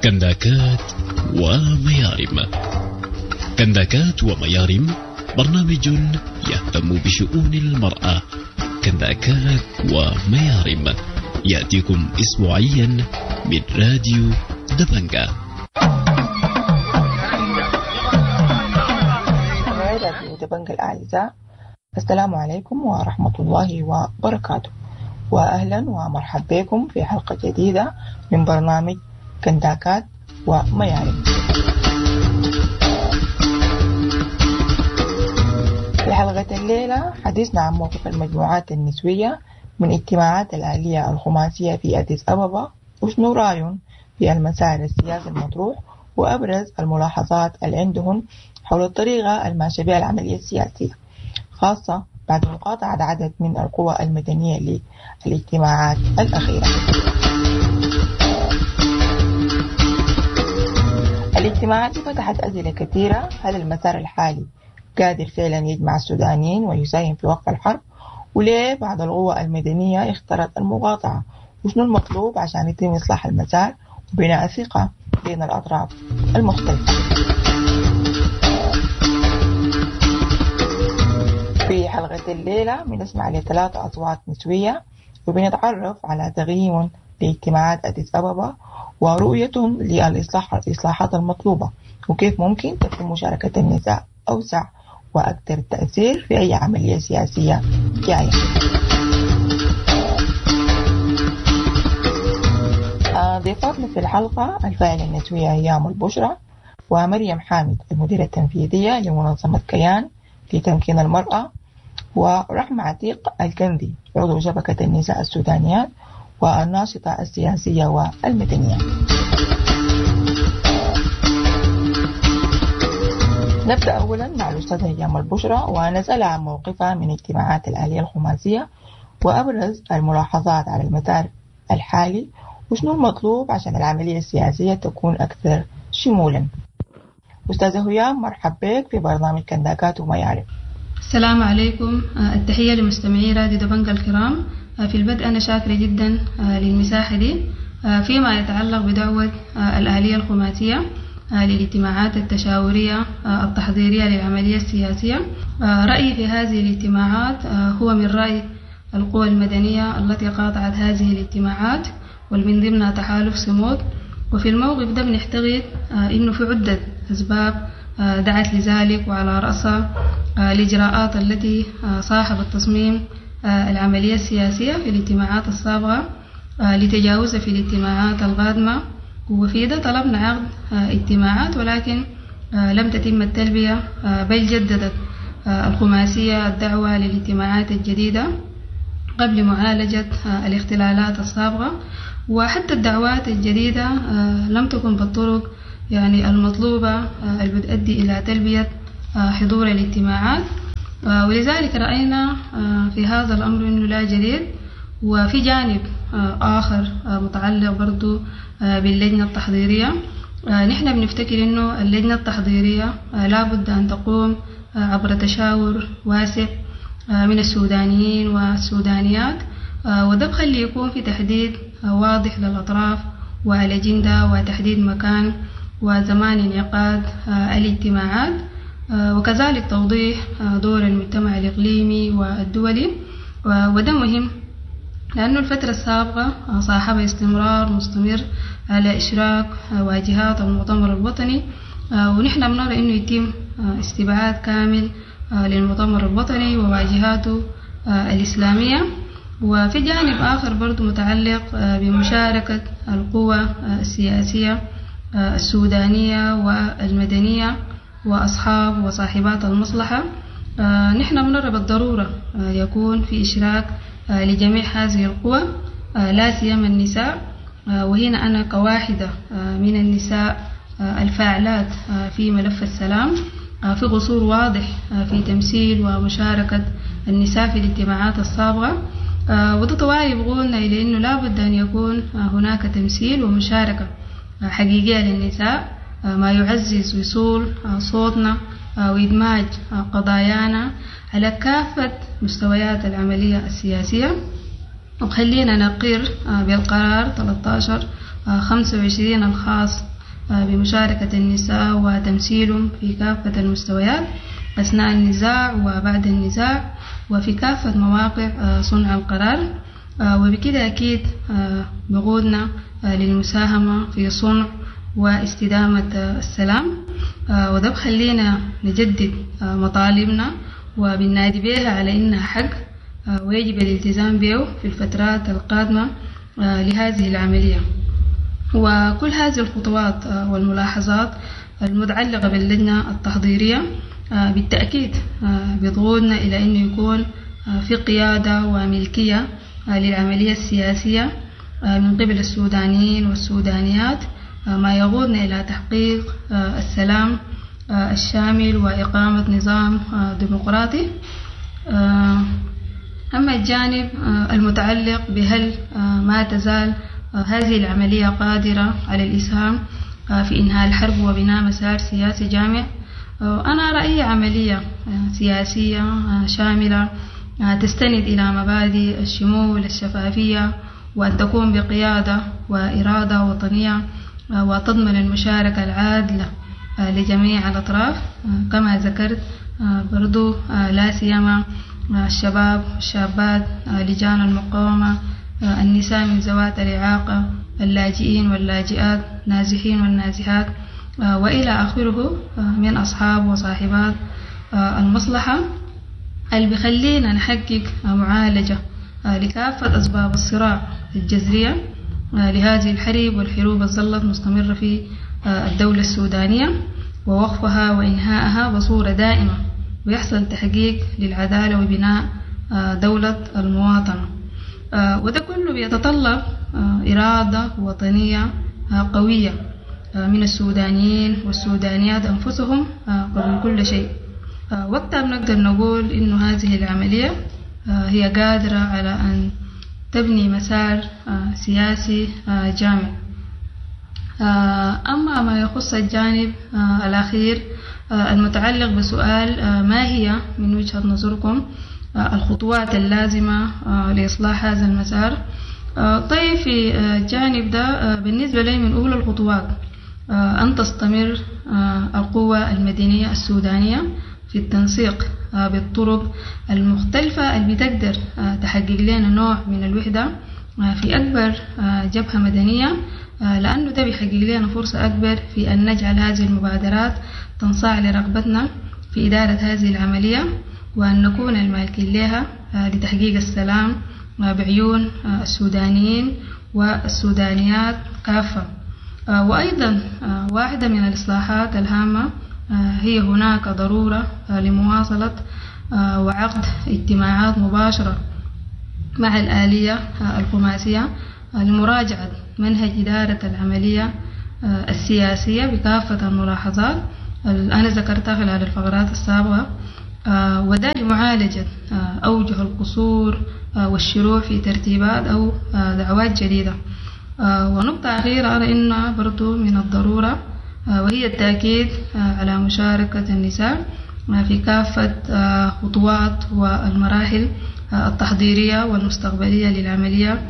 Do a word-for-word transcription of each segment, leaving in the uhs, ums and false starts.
كنداكات وميارم. كنداكات وميارم برنامج يهتم بشؤون المرأة. كنداكات وميارم يأتيكم أسبوعيا من راديو دبنجة. راديو دبنجة الأعزاء، السلام عليكم ورحمة الله وبركاته، وأهلا ومرحبا بكم في حلقة جديدة من برنامج كنداكات وميارم. في حلقة الليلة حديثنا عن موقف المجموعات النسوية من اجتماعات الآلية الخماسية في أديس أبابا، وشنو رأيهم في المسار السياسي المطروح وأبرز الملاحظات اللي عندهم حول الطريقة الماشية بها العملية السياسية، خاصة بعد مقاطعة عدد من القوى المدنية للاجتماعات الأخيرة. الاجتماعات فتحت أسئلة كثيرة. هل المسار الحالي قادر فعلا يجمع السودانيين ويساهم في وقف الحرب؟ وليه بعض القوى المدنية اختارت المقاطعة؟ وشنو المطلوب عشان يتم إصلاح المسار وبناء الثقة بين الأطراف المختلفة؟ في حلقة الليلة بنسمع لثلاث أصوات نسوية وبنتعرف على تقييم لاجتماعات أديس أبابا ورؤيتهم للإصلاح الإصلاحات المطلوبة، وكيف ممكن تكون مشاركة النساء أوسع وأكثر تأثير في أي عملية سياسية جاية. ضيفاتنا في الحلقة الفاعلة النسوية أيام البشرى، ومريم حامد المديرة التنفيذية لمنظمة كيان لتمكين المرأة، ورحمة عتيق الكندي عضو شبكة النساء السودانيات والناشطة السياسية والمدنية. نبدأ أولا مع الأستاذة هيام البشرى ونسألها عن موقفها من اجتماعات الآلية الخماسية وأبرز الملاحظات على المسار الحالي وشنو المطلوب عشان العملية السياسية تكون أكثر شمولا. أستاذة هيام، مرحبا بك في برنامج كنداكات وميارم. السلام عليكم، التحية لمستمعي راديو دبنجة الكرام. في البدء أنا شاكرة جدا للمساحة دي فيما يتعلق بدعوة الآلية الخماسية للاجتماعات التشاورية التحضيرية للعملية السياسية. رأيي في هذه الاجتماعات هو من رأي القوى المدنية التي قاطعت هذه الاجتماعات ومن ضمنها تحالف صمود. وفي الموقف ده بنعتقد إنه في عدة أسباب دعت لذلك، وعلى رأسها الإجراءات التي صاحبت تصميم العملية السياسية في الاجتماعات السابقة لتجاوزها في الاجتماعات القادمة. وفي ده طلبنا عقد اجتماعات ولكن لم تتم التلبية، بل جددت الخماسية الدعوة للاجتماعات الجديدة قبل معالجة الاختلالات السابقة، وحتى الدعوات الجديدة لم تكن بالطرق يعني المطلوبة اللي بتؤدي إلى تلبية حضور الاجتماعات. ولذلك رأينا في هذا الأمر أنه لا جديد. وفي جانب آخر متعلق برضو باللجنة التحضيرية، نحن بنفتكر أنه اللجنة التحضيرية لابد أن تقوم عبر تشاور واسع من السودانيين والسودانيات، وده بخلي يكون في تحديد واضح للأطراف والأجندة وتحديد مكان وزمان انعقاد الاجتماعات، وكذلك توضيح دور المجتمع الإقليمي والدولي. وده مهم لأنه الفترة السابقة صاحبها استمرار مستمر على إشراك واجهات المؤتمر الوطني، ونحن بنرى أنه يتم استبعاد كامل للمؤتمر الوطني وواجهاته الإسلامية. وفي جانب آخر برضو متعلق بمشاركة القوى السياسية السودانية والمدنية وأصحاب وصاحبات المصلحة، نحن بنرى بالضرورة يكون في إشراك لجميع هذه القوى لا سيما النساء. وهنا أنا كواحدة من النساء الفاعلات في ملف السلام في قصور واضح في تمثيل ومشاركة النساء في الاجتماعات السابقة، وده طوالي بقولنا إلى أنه لابد أن يكون هناك تمثيل ومشاركة حقيقية للنساء، ما يعزز وصول صوتنا وإدماج قضايانا على كافة مستويات العملية السياسية. وخلينا نقر بالقرار ثلاثة عشر خمسة وعشرين الخاص بمشاركة النساء وتمثيلهم في كافة المستويات أثناء النزاع وبعد النزاع وفي كافة مواقع صنع القرار، وبكده أكيد بقودنا للمساهمة في صنع واستدامة السلام، وده بخلينا نجدد مطالبنا وبننادي بها على إنها حق ويجب الالتزام به في الفترات القادمة لهذه العملية. وكل هذه الخطوات والملاحظات المتعلقة باللجنة التحضيرية بالتأكيد بتقودنا إلى أنه يكون في قيادة وملكية للعملية السياسية من قبل السودانيين والسودانيات، ما يقودنا إلى تحقيق السلام الشامل وإقامة نظام ديمقراطي. أما الجانب المتعلق بهل ما تزال هذه العملية قادرة على الإسهام في إنهاء الحرب وبناء مسار سياسي جامع، أنا رأيي عملية سياسية شاملة تستند إلى مبادئ الشمول الشفافية وأن تكون بقيادة وإرادة وطنية وتضمن المشاركة العادلة لجميع الأطراف كما ذكرت برضو، لا سيما الشباب والشابات، لجان المقاومة، النساء من ذوات الإعاقة، اللاجئين واللاجئات، نازحين والنازحات، وإلى آخره من أصحاب وصاحبات المصلحة اللي بخلينا نحقق معالجة لكافة أسباب الصراع الجذرية لهذه الحرب والحروب الظلت مستمرة في الدولة السودانية ووقفها وإنهائها بصورة دائمة، ويحصل تحقيق للعدالة وبناء دولة المواطنة. وده كله بيتطلب إرادة وطنية قوية من السودانيين والسودانيات أنفسهم قبل كل شيء. وقتها بنقدر نقول إنه هذه العملية هي قادرة على أن تبني مسار سياسي جامع. أما ما يخص الجانب الأخير المتعلق بسؤال ما هي من وجهة نظركم الخطوات اللازمة لإصلاح هذا المسار، طيب في الجانب ده بالنسبة لي من أولى الخطوات أن تستمر القوى المدنية السودانية في التنسيق بالطرق المختلفة اللي بتقدر تحقق لنا نوع من الوحدة في أكبر جبهة مدنية، لأنه ده بيحقق لنا فرصة أكبر في أن نجعل هذه المبادرات تنصاع لرغبتنا في إدارة هذه العملية وأن نكون المالكين لها لتحقيق السلام بعيون السودانيين والسودانيات كافة. وأيضا واحدة من الإصلاحات الهامة هي هناك ضرورة لمواصلة وعقد اجتماعات مباشرة مع الآلية الخماسية لمراجعة منهج إدارة العملية السياسية بكافة الملاحظات اللي أنا ذكرتها خلال الفقرات السابقة، وده لمعالجة أوجه القصور والشروع في ترتيبات أو دعوات جديدة. ونقطة أخيرة أرى إنها برضو من الضرورة وهي التأكيد على مشاركة النساء في كافة خطوات والمراحل التحضيرية والمستقبلية للعملية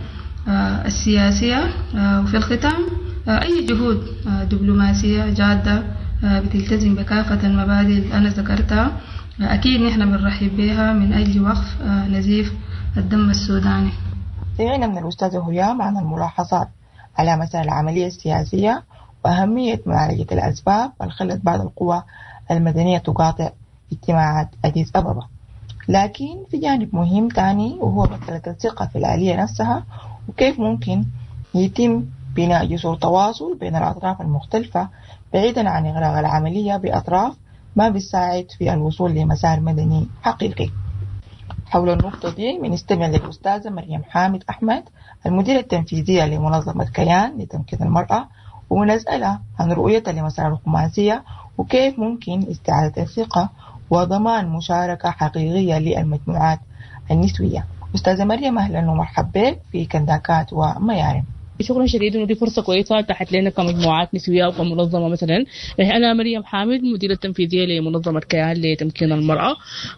السياسية. وفي الختام أي جهود دبلوماسية جادة بتلتزم بكافة المبادئ اللي أنا ذكرتها أكيد نحن بنرحب بها من أجل وقف نزيف الدم السوداني. سمعنا من الأستاذة هيام عن الملاحظات على مسار العملية السياسية وأهمية معالجة الأسباب اللي خلت بعض القوى المدنية تقاطع اجتماعات أديس أبابا. لكن في جانب مهم تاني وهو مسألة الثقة في الآلية نفسها وكيف ممكن يتم بناء جسور تواصل بين الأطراف المختلفة بعيدا عن إغراق العملية بأطراف ما بتساعد في الوصول لمسار مدني حقيقي. حول النقطة دي بنستمع للأستاذة مريم حامد أحمد المديرة التنفيذية لمنظمة كيان لتمكين المرأة، ونسألها عن رؤيتها لمسار الخماسية وكيف ممكن استعادة الثقة وضمان مشاركة حقيقية للمجموعات النسوية. أستاذة مريم أهلا ومرحبا بك في كنداكات وميارم. شكرا شديد انه دي فرصة كويسة تحت لنا كمجموعات نسويه وكمنظمه. مثلا انا مريم حامد، مديره التنفيذية لمنظمة كيان لتمكين المراة.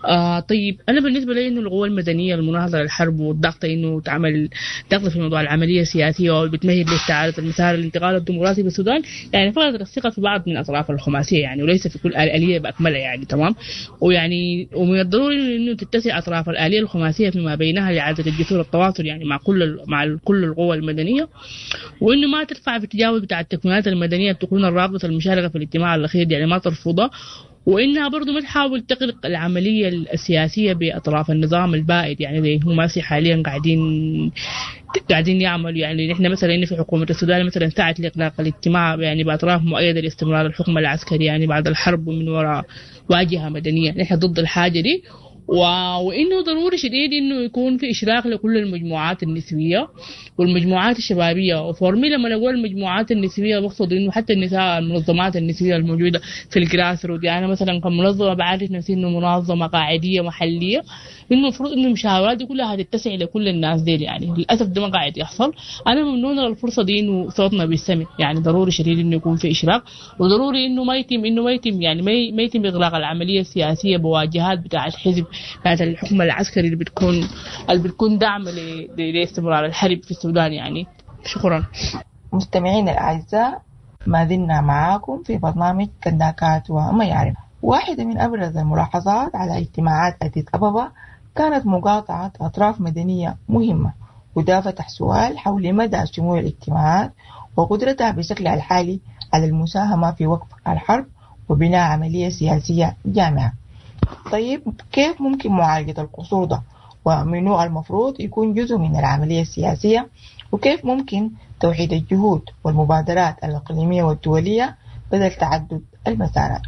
آه طيب انا بالنسبة لي انه القوى المدنية المناهضه للحرب والضغط انه تعمل ضغط في موضوع العملية السياسية وبتمهد لاستعادة المسار الانتقال الديمقراطي بالسودان، يعني فقدت الثقة في بعض من اطراف الخماسيه يعني، وليس في كل الالية باكملها يعني، تمام. ويعني ومن الضروري انه تتسع اطراف الالية الخماسيه فيما بينها لاعادة الجسور التواصل يعني مع كل مع كل القوى المدنية، وانه ما ترفع في التجاوز بتاع التكوينات المدنية بتكون الرابطة المشاركة في الاجتماع الاخير يعني ما ترفضها، وانها برضو ما تحاول تغلق العملية السياسية باطراف النظام البائد يعني زي هم حاليا قاعدين قاعدين يعملوا. يعني نحن مثلا إن في حكومة السودان مثلا سعت لاغلاق الاجتماع يعني باطراف مؤيدة لاستمرار الحكم العسكري يعني بعد الحرب ومن وراء واجهه مدنية، نحن ضد الحاجة دي. وانه ضروري شديد انه يكون في اشراك لكل المجموعات النسوية والمجموعات الشبابية. و for me لما نقول المجموعات النسوية بقصد انه حتى النساء المنظمات النسوية الموجودة في ال grassroot. يعني انا مثلا كمنظمه بعرف نفسي انه منظمة قاعديه محليه، انه المفروض انه المشاورات دي كلها هتتسع لكل الناس دي يعني للاسف ده ما قاعد يحصل. انا ممنونه للفرصه دي انه صوتنا بيستمع، يعني ضروري شديد انه يكون في اشراك، وضروري انه ما يتم انه ما يتم يعني ما يتم اغلاق العملية السياسية بواجهات بتاع الحزب بتاعت الحكم العسكري اللي بتكون اللي بتكون دعم لاستمرار الحرب في السودان يعني. شكرا. مستمعينا الأعزاء، ما زلنا معاكم في برنامج كنداكات وميارم. واحدة من أبرز الملاحظات على اجتماعات أديس أبابا كانت مقاطعة أطراف مدنية مهمة، وده فتح سؤال حول مدى شمول الاجتماعات وقدرتها بشكلها الحالي على المساهمة في وقف الحرب وبناء عملية سياسية جامعة. طيب كيف ممكن معالجة القصور ده؟ ومنو المفروض يكون جزء من العملية السياسية؟ وكيف ممكن توحيد الجهود والمبادرات الإقليمية والدولية بدل تعدد المسارات؟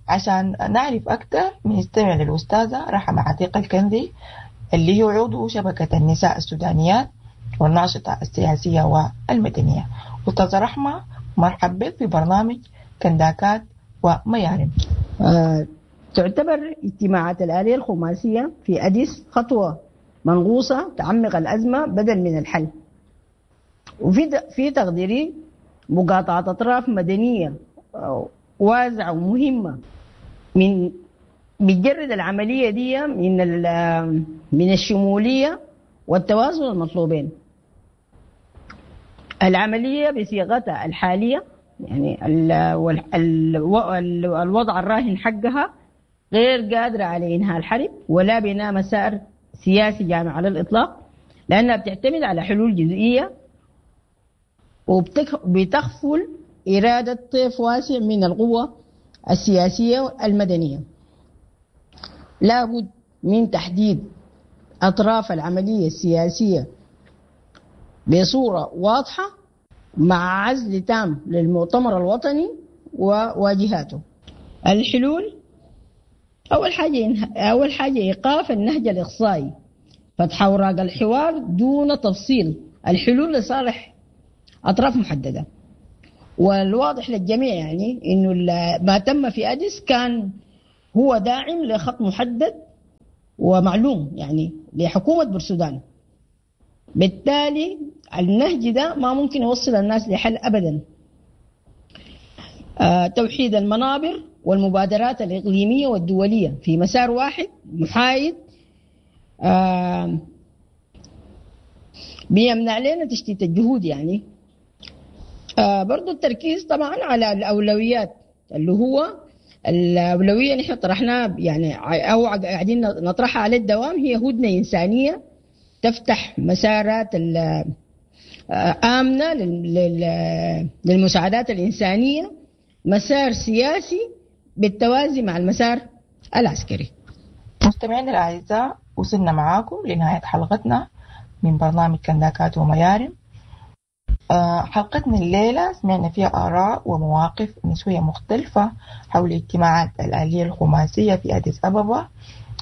عشان نعرف أكثر بنستمع للأستاذة رحمة عتيق الكنزي اللي هي عضو شبكة النساء السودانيات والناشطة السياسية والمدنية. أستاذة رحمة، مرحبا بك في برنامج كنداكات وميارم. آه تعتبر اجتماعات الآلية الخماسية في أديس خطوة منغوصة تعمق الأزمة بدل من الحل. وفي في تقديري مقاطعة أطراف مدنية واسعة ومهمة من بتجرد العملية دي من من الشمولية والتوازن المطلوبين. العملية بصيغتها الحالية يعني ال ال ال الوضع الراهن حقها غير قادرة على إنهاء الحرب ولا بناء مسار سياسي جامع على الإطلاق، لأنها بتعتمد على حلول جزئية وبتخفل إرادة طيف واسع من القوة السياسية المدنية. لابد من تحديد أطراف العملية السياسية بصورة واضحة مع عزل تام للمؤتمر الوطني وواجهاته. الحلول: أول حاجة أول حاجة إيقاف النهج الإقصائي، فتح أوراق الحوار دون تفصيل الحلول لصالح أطراف محددة. والواضح للجميع يعني إنه ما تم في أديس كان هو داعم لخط محدد ومعلوم يعني لحكومة بورسودان، بالتالي النهج ده ما ممكن يوصل الناس لحل أبدا. آه، توحيد المنابر والمبادرات الإقليمية والدولية في مسار واحد محايد آه، بيمنع لنا تشتيت الجهود يعني. آه، برضو التركيز طبعا على الأولويات، اللي هو الأولوية نحن طرحناها يعني أو قاعدين نطرحها على الدوام، هي هدنة إنسانية تفتح مسارات آمنة للمساعدات الإنسانية، مسار سياسي بالتوازي مع المسار العسكري. مستمعينا الأعزاء، وصلنا معاكم لنهاية حلقتنا من برنامج كنداكات وميارم. حلقتنا الليلة سمعنا فيها آراء ومواقف نسوية مختلفة حول اجتماعات الآلية الخماسية في أديس أبابا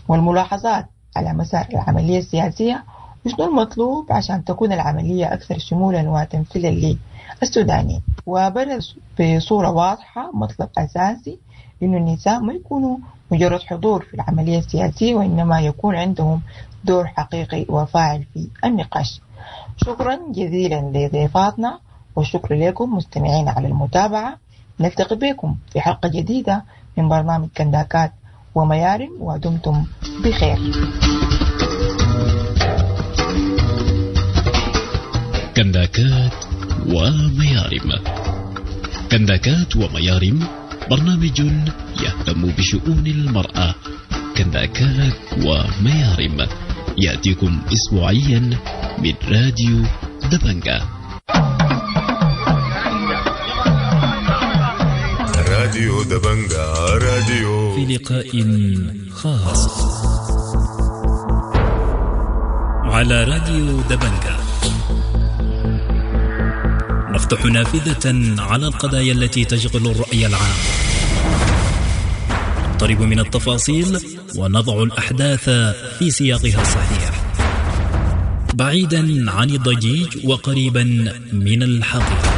والملاحظات على مسار العملية السياسية وشنو المطلوب عشان تكون العملية أكثر شمولا وتمثيلا للسودانيين. وبرز بصورة واضحة مطلب أساسي إنه النساء ما يكونوا مجرد حضور في العملية السياسية، وإنما يكون عندهم دور حقيقي وفاعل في النقاش. شكرا جزيلا لضيفاتنا، والشكر لكم مستمعين على المتابعة. نلتقي بكم في حلقة جديدة من برنامج كنداكات وميارم، ودمتم بخير. كنداكات وميارم. كنداكات وميارم برنامج يهتم بشؤون المرأة. كنداكات وميارم يأتيكم أسبوعيا من راديو دبنجة. راديو دبنجة، راديو في لقاء خاص على راديو دبنجة نفتح نافذة على القضايا التي تشغل الرأي العام، نقترب من التفاصيل ونضع الأحداث في سياقها الصحيح، بعيدا عن الضجيج وقريبا من الحقيقة.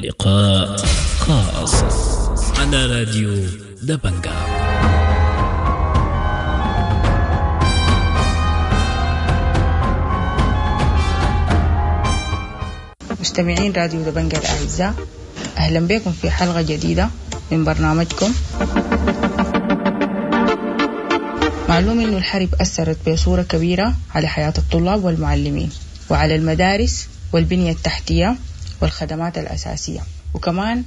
لقاء خاص على راديو دبنجة. مستمعين راديو دبنجة الأعزاء، أهلا بكم في حلقة جديدة من برنامجكم. معلوم أن الحرب أثرت بصورة كبيرة على حياة الطلاب والمعلمين وعلى المدارس والبنية التحتية والخدمات الأساسية، وكمان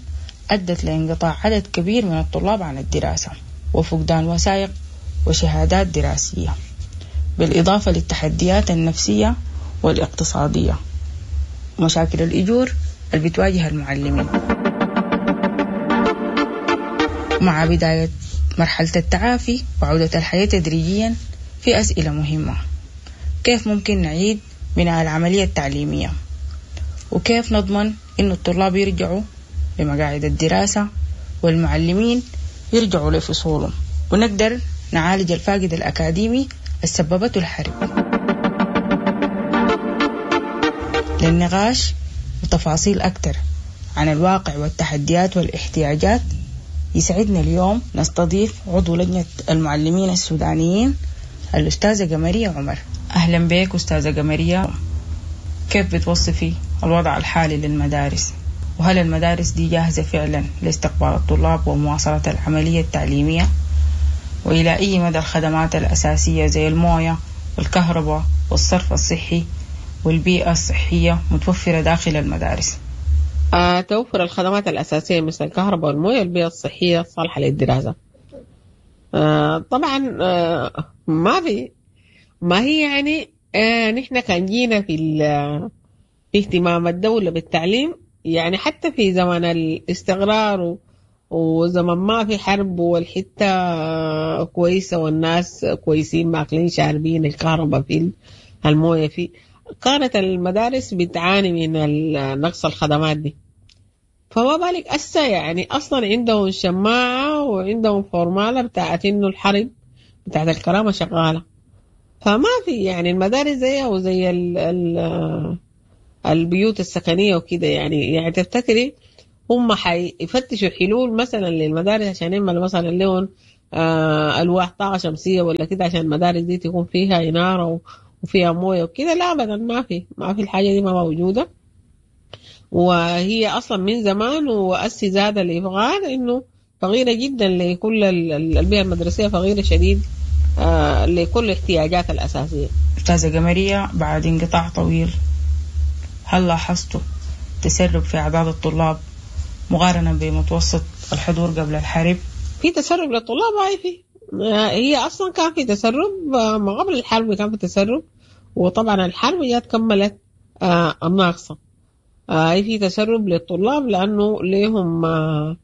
أدت لانقطاع عدد كبير من الطلاب عن الدراسة وفقدان وثائق وشهادات دراسية، بالإضافة للتحديات النفسية والاقتصادية ومشاكل الأجور اللي بتواجه المعلمين. مع بداية مرحلة التعافي وعودة الحياة تدريجيا، في أسئلة مهمة: كيف ممكن نعيد بناء العملية التعليمية؟ وكيف نضمن إنه الطلاب يرجعوا لمقاعد الدراسة والمعلمين يرجعوا لفصولهم، ونقدر نعالج الفاقد الأكاديمي السببته الحرب؟ للنقاش وتفاصيل أكثر عن الواقع والتحديات والاحتياجات، يسعدنا اليوم نستضيف عضو لجنة المعلمين السودانيين الأستاذة قمرية عمر. أهلا بك أستاذة قمرية. كيف بتوصفي الوضع الحالي للمدارس؟ وهل المدارس دي جاهزة فعلا لاستقبال الطلاب ومواصلة العملية التعليمية؟ وإلى أي مدى الخدمات الأساسية زي الموية والكهرباء والصرف الصحي والبيئة الصحية متوفرة داخل المدارس؟ آه، توفر الخدمات الأساسية مثل الكهرباء والموية والبيئة الصحية الصالحة للدراسة. آه، طبعا آه، ما في ما هي يعني آه، نحن كان جينا في في اهتمام الدولة بالتعليم، يعني حتى في زمن الاستقرار وزمن ما في حرب والحتة كويسة والناس كويسين ماكلين شاربين الكهرباء في الموية في، كانت المدارس بتعاني من نقص الخدمات دي. فما بالك أسا يعني أصلا عندهم شماعة وعندهم فورمالة بتاعت إنه الحرب بتاعت الكرامة شغالة، فما في يعني المدارس زيها وزي ال ال البيوت السكنية وكده. يعني يعني تفتكري هم حيفتشوا حلول مثلا للمدارس عشان يعملوا مثلا لهم آه ألواح طاقة شمسية ولا كده عشان المدارس دي تكون فيها إنارة وفيها موية وكده؟ لا أبدا، ما في ما في الحاجة دي ما موجودة، وهي أصلا من زمان وأسي زاد الإفغان إنه فقيرة جدا لكل البيئة المدرسية، فقيرة شديد آه لكل الاحتياجات الأساسية. أستاذة قمرية، بعد انقطاع طويل هل لاحظتوا تسرب في أعداد الطلاب مقارنة بمتوسط الحضور قبل الحرب؟ في تسرب للطلاب، هاي في هي أصلا كان في تسرب ما قبل الحرب، كان في تسرب، وطبعا الحرب جات كملت آه الناقصة. آه في تسرب للطلاب لأنه ليهم آه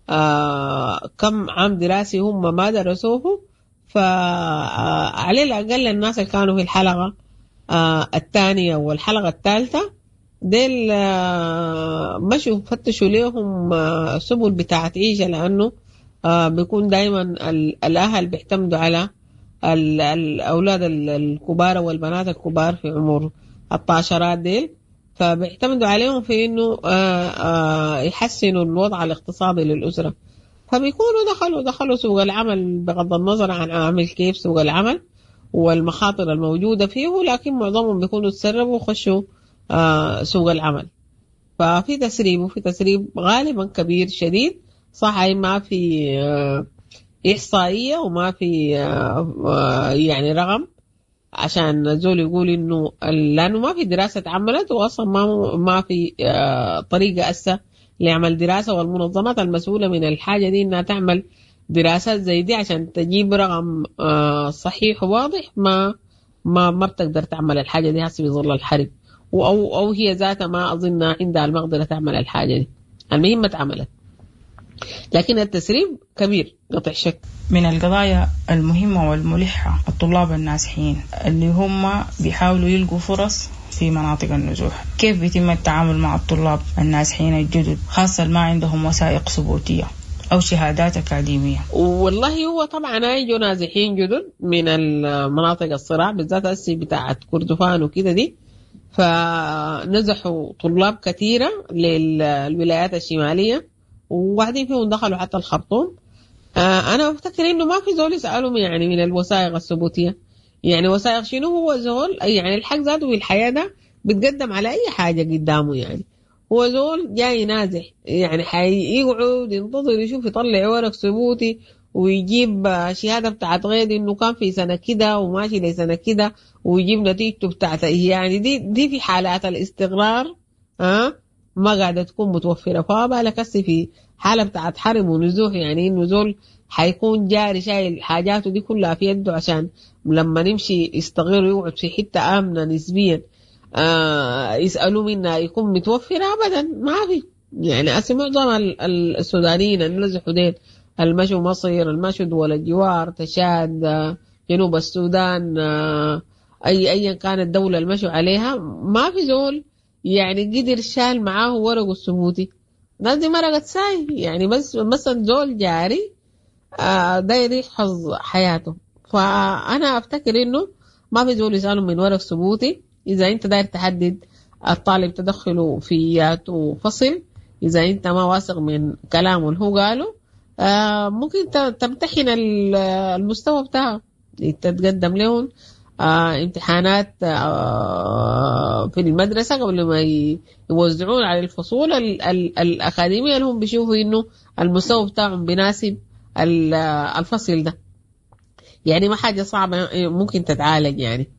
آه كم عام دراسي هم ما درسوه، فعلى الأقل الناس اللي كانوا في الحلقة آه الثانية والحلقة الثالثة ديل آه مشوا فتشوا ليهم آه سبل بتاعت عيشة، لأنه آه بيكون دايما الأهل بيعتمدوا على الأولاد الكبار والبنات الكبار في عمر الطاشرات ديل، فبيعتمدوا عليهم في إنه آه آه يحسنوا الوضع الاقتصادي للأسرة، فبيكونوا دخلوا دخلوا سوق العمل بغض النظر عن عامل كيف سوق العمل، والمخاطر الموجودة فيه، لكن معظمهم بيكونوا تسربوا وخشوا آه سوق العمل. ففي تسريب، وفي تسريب غالبا كبير شديد. صح ما في آه إحصائية وما في آه يعني رقم عشان زول يقول إنه، لأنه ما في دراسة اتعملت، وأصلا ما ما في طريقة أسا لعمل دراسة، والمنظمات المسؤولة من الحاجة دي إنها تعمل دراسات زي دي عشان تجيب رقم صحيح وواضح، ما ما ما بتقدر تعمل الحاجة دي هسه بظل الحرب، أو أو هي ذاتها ما أظن عندها المقدرة تعمل الحاجة دي. المهم ما اتعملت، لكن التسريب كبير قطع شك. من القضايا المهمة والملحة الطلاب النازحين اللي هم بيحاولوا يلقوا فرص في مناطق النزوح، كيف بيتم التعامل مع الطلاب النازحين الجدد خاصة ما عندهم وثائق ثبوتية أو شهادات أكاديمية؟ والله هو طبعا يجوا نازحين جدد من المناطق الصراع بالذات هسي بتاعت كردفان وكده دي، فنزحوا طلاب كثيرة للولايات الشمالية، وواحدين فيهم دخلوا حتى الخرطوم. آه أنا أفتكر إنه ما في زول يسألهم يعني من الوثائق الثبوتية، يعني وثائق شنو؟ هو زول يعني الحق ذاته في الحياة ده بتقدم على أي حاجة قدامه، يعني هو زول جاي نازح، يعني حيقعد ينتظر يشوف يطلع ورق ثبوتي ويجيب شهادة بتاعت غير إنه كان في سنة كده وماشي لسنة كده ويجيب نتيجته بتاعت، يعني دي دي في حالات الاستقرار ها أه؟ ما قاعدة تكون متوفرة. فبالك هسه في حالة بتاعت حرب ونزوح، يعني إنه زول حيكون جاري شايل حاجاته دي كلها في يده عشان لما نمشي يستغير ويقعد في حتة آمنة نسبيا آه يسألوا منها يكون متوفرة. أبدا ما في، يعني هسه معظم السودانيين اللي نزحوا ديل، المشوا مصر، المشوا دول الجوار، تشاد، جنوب السودان، أي أيا كانت الدولة المشوا عليها، ما في زول يعني قدر شال معاه ورقه الثبوتي. الناس دي مرقت ساي، يعني بس مثلا زول جاري آه داير يحفظ حياته. فأنا أفتكر إنه ما في زول يسأله من ورق ثبوتي. إذا أنت داير تحدد الطالب تدخله في فصل، إذا أنت ما واثق من كلامه اللي هو قاله آه ممكن تمتحن المستوى بتاعه، تتقدم لهم آه امتحانات آه في المدرسة قبل ما يوزعون على الفصول ال ال الأكاديمية اللي هم بيشوفوا إنه المستوى بتاعهم بيناسب الفصل ده. يعني ما حاجة صعبة ممكن تتعالج يعني.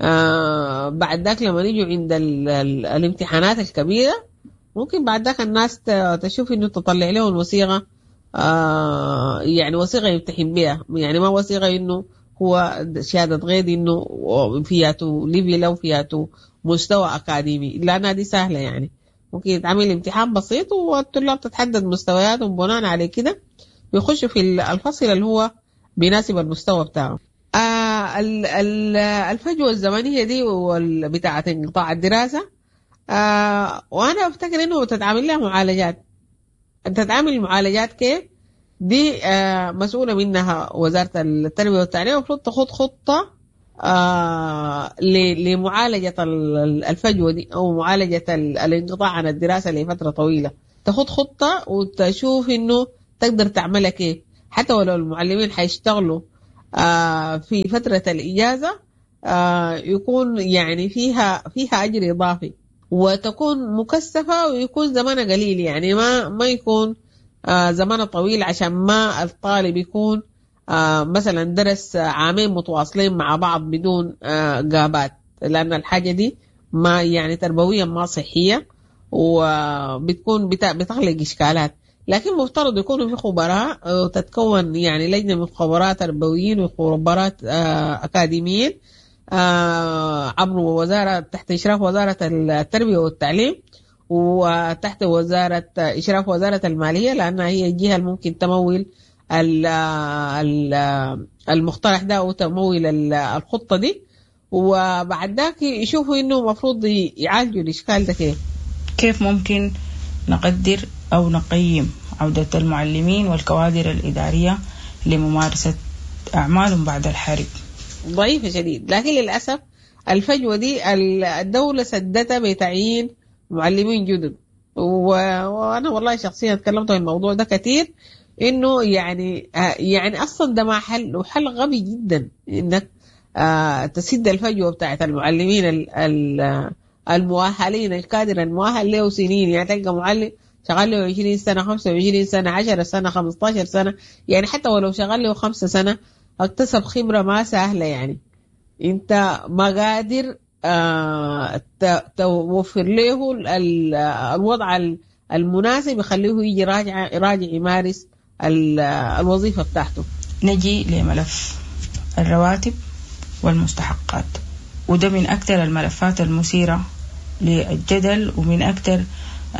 آه بعد ذاك لما نيجوا عند ال ال الامتحانات الكبيرة ممكن بعد ذاك الناس تشوف إنه تطلع لهم وثيقة آه يعني وثيقة يمتحن بها، يعني ما وثيقة إنه هو شهادة غير إنه فياته level أو فياته مستوى أكاديمي، لأنها دي سهلة يعني ممكن يتعمل امتحان بسيط والطلاب تتحدد مستوياتهم بناء على كده ويخشوا في الفصل اللي هو بيناسب المستوى بتاعه. آه الفجوة الزمنية دي بتاعة انقطاع الدراسة آه وأنا أفتكر إنه تتعامل لها معالجات. تتعامل معالجات كيف؟ دي آه مسؤولة منها وزارة التربية والتعليم، المفروض تخوض خطة آه لمعالجة الفجوة دي أو معالجة الانقطاع عن الدراسة لفترة طويلة. تخوض خطة وتشوف إنه تقدر تعملها كيف، حتى ولو المعلمين حيشتغلوا آه في فترة الإجازة آه يكون يعني فيها فيها أجر إضافي وتكون مكثفة ويكون زمانها قليل، يعني ما ما يكون آه زمان طويل عشان ما الطالب يكون آه مثلا درس عامين متواصلين مع بعض بدون آه غابات، لأن الحاجة دي ما يعني تربويا ما صحية وبتكون بتخلق إشكالات. لكن مفترض يكونوا في خبراء وتتكون يعني لجنة من خبراء تربويين وخبراء آه أكاديميين آه عبر وزارة تحت إشراف وزارة التربية والتعليم وتحت وزارة إشراف وزارة المالية، لأنها هي الجهة الممكن تمول المقترح ده أو تمول الخطة دي، وبعد ذاك يشوفوا إنه المفروض يعالجوا الإشكال ده كيف. كيف ممكن نقدر أو نقيم عودة المعلمين والكوادر الإدارية لممارسة أعمالهم بعد الحرب؟ ضعيفة شديد، لكن للأسف الفجوة دي الدولة سدتها بتعيين معلمين جدد، وانا والله شخصيا تكلمت عن الموضوع ده كثير، انه يعني يعني اصلا ده ما حل، وحل غبي جدا انك آه تسد الفجوة بتاعت المعلمين ال ال المؤهلين، الكادر المؤهل له سنين. يعني تلقى معلم شغال له عشرين سنة، خمسة وعشرين سنة، عشرة سنة، خمستاشر سنة، يعني حتى ولو شغال له خمسة سنة اكتسب خبرة ما سهلة. يعني انت ما قادر آه توفر له الوضع المناسب يخليه يجي راجع راجع يمارس الوظيفة بتاعته. نجي لملف الرواتب والمستحقات، وده من أكثر الملفات المثيرة للجدل ومن أكثر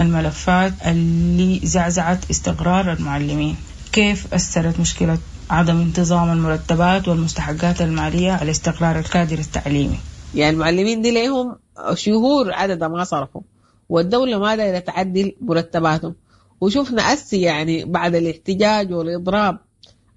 الملفات اللي زعزعت استقرار المعلمين. كيف أثرت مشكلة عدم انتظام المرتبات والمستحقات المالية على استقرار الكادر التعليمي؟ يعني المعلمين دي ليهم شهور عدد ما صرفوا، والدولة ما دايرة تعدل مرتباتهم. وشفنا أسي يعني بعد الاحتجاج والإضراب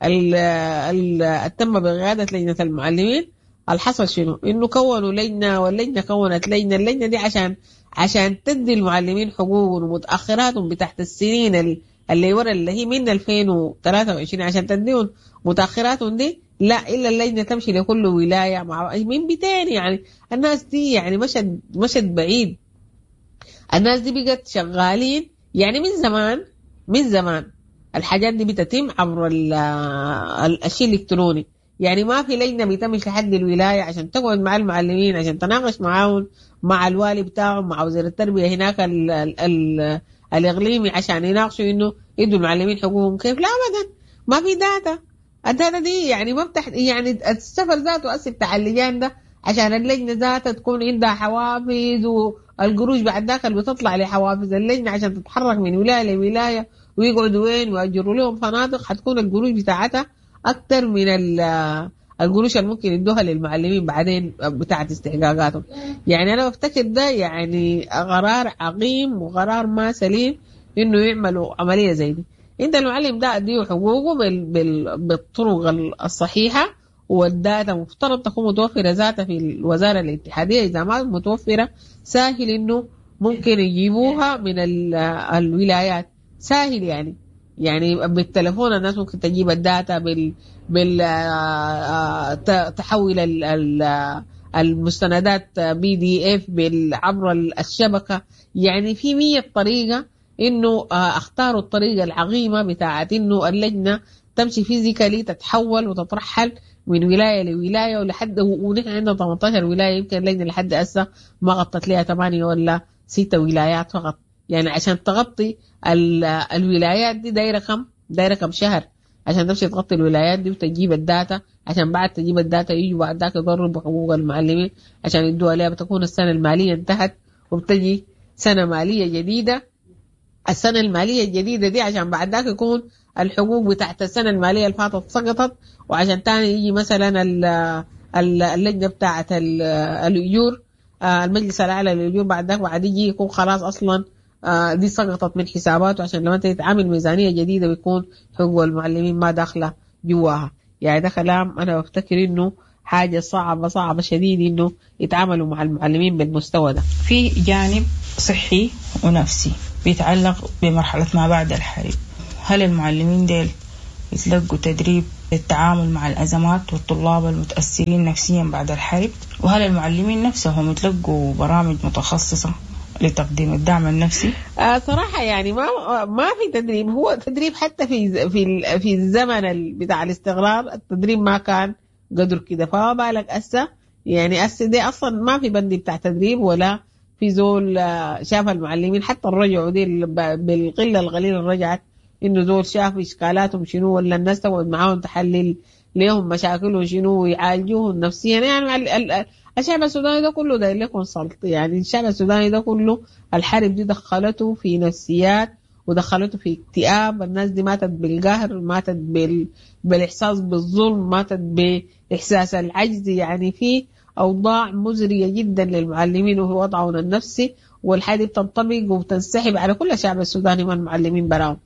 اللي تم بقيادة لجنة المعلمين، الحصل شنو؟ إنه كونوا لجنة، واللجنة كونت لجنة، اللجنة دي عشان عشان تدي المعلمين حقوقهم ومتأخراتهم بتاعت السنين اللي ورا اللي هي من ألفين وثلاثة وعشرين، عشان تديهم متأخراتهم دي. لا، إلا اللجنة تمشي لكل ولاية مع من بيتين. يعني الناس دي يعني مشت مشت بعيد، الناس دي بقت شغالين يعني من زمان، من زمان الحاجات دي بتتم عبر الشيء الإلكتروني. يعني ما في لجنة بتمشي لحد الولاية عشان تقعد مع المعلمين، عشان تناقش معاهم، مع الوالي بتاعهم، مع وزير التربية هناك ال ال ال الإقليمي، عشان يناقشوا إنه يدوا المعلمين حقوقهم كيف. لا أبدا، ما في data. ال data دي يعني ما بتح... يعني السفر ذاته أسف بتاع اللجان ده عشان اللجنة ذاتها تكون عندها حوافز، والقروش بعد ذاك اللي بتطلع لحوافز اللجنة عشان تتحرك من ولاية لولاية ويقعدوا وين ويأجروا لهم فنادق، حتكون القروش بتاعتها أكثر من القروش اللي ممكن يدوها للمعلمين بعدين بتاعت استحقاقاتهم. يعني أنا بفتكر ده يعني قرار عقيم وقرار ما سليم إنه يعملوا عملية زي دي. أنت المعلم ده أديه حقوقه بال بال بالطرق الصحيحة، والداتا مفترض تكون متوفرة ذاتها في الوزارة الاتحادية. إذا ما متوفرة سهل إنه ممكن يجيبوها من الولايات، سهل يعني يعني بالتلفون الناس ممكن تجيب ال data بال بال تحول المستندات PDF عبر الشبكة. يعني في مية طريقة إنه اختاروا الطريقة العظيمة بتاعت إنه اللجنة تمشي physically، تتحول وتترحل من ولاية لولاية ولحد، ونحن عندنا ثمانية عشر ولاية، يمكن اللجنة لحد هسه ما غطت لها ثمانية ولا ستة ولايات فقط. يعني عشان تغطي الولايات دي دايرة كم دايرة كم شهر عشان تمشي تغطي الولايات دي وتجيب ال data، عشان بعد تجيب ال data يجوا بعد ذاك يضربوا حقوق المعلمين عشان يدوها لها. بتكون السنة المالية انتهت وبتجي سنة مالية جديدة. السنة المالية الجديدة دي عشان بعد ذاك يكون الحقوق بتاعت السنة المالية اللي فاتت سقطت، وعشان تاني يجي مثلا اللجنة بتاعت الأجور، المجلس الأعلى للأجور بعد ذاك بعد يجي يكون خلاص أصلا دي سقطت من حساباته، عشان لما تتعامل ميزانية جديدة بيكون حقوق المعلمين ما داخلة جواها. يعني ده كلام أنا بفتكر إنه حاجة صعبة صعبة شديد إنه يتعاملوا مع المعلمين بالمستوى ده. في جانب صحي ونفسي بيتعلق بمرحلة ما بعد الحرب. هل المعلمين ديل يتلقوا تدريب للتعامل مع الأزمات والطلاب المتأثرين نفسيا بعد الحرب؟ وهل المعلمين نفسهم يتلقوا برامج متخصصة لتقديم الدعم النفسي؟ آه صراحة يعني ما ما في تدريب. هو تدريب حتى في في في الزمن بتاع الاستقرار التدريب ما كان قدر كده، فما بالك هسه. يعني هسه دي أصلا ما في بند بتاع تدريب ولا في زول شاف المعلمين حتى الرجعوا دي بالقلة القليلة اللي رجعت، إنه زول شاف إشكالاتهم شنو، ولا الناس تقعد معاهم تحلل ليهم مشاكلهم شنو ويعالجوهم نفسيا. يعني الشعب السوداني ده كله داير لكم سلط. يعني الشعب السوداني ده كله الحرب دي دخلته في نفسيات ودخلته في اكتئاب. الناس دي ماتت بالقهر، ماتت بال... بالإحساس بالظلم، ماتت بإحساس العجز. يعني في أوضاع مزرية جدا للمعلمين وهو وضعهم النفسي، والحاجة بتنطبق وبتنسحب على كل الشعب السوداني من المعلمين براهم.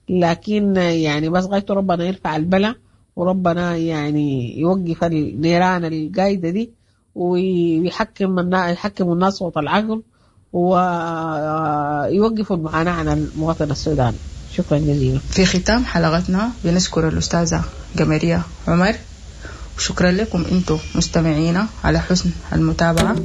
لكن يعني بس غايته ربنا يرفع البلاء، وربنا يعني يوقف النيران القايدة دي، ويحكم يحكم الناس صوت العقل، ويوقفوا المعاناة عن المواطن السوداني. شكرا جزيلا. في ختام حلقتنا بنشكر الأستاذة قمرية عمر، شكرا لكم أنتم مستمعينا على حسن المتابعة.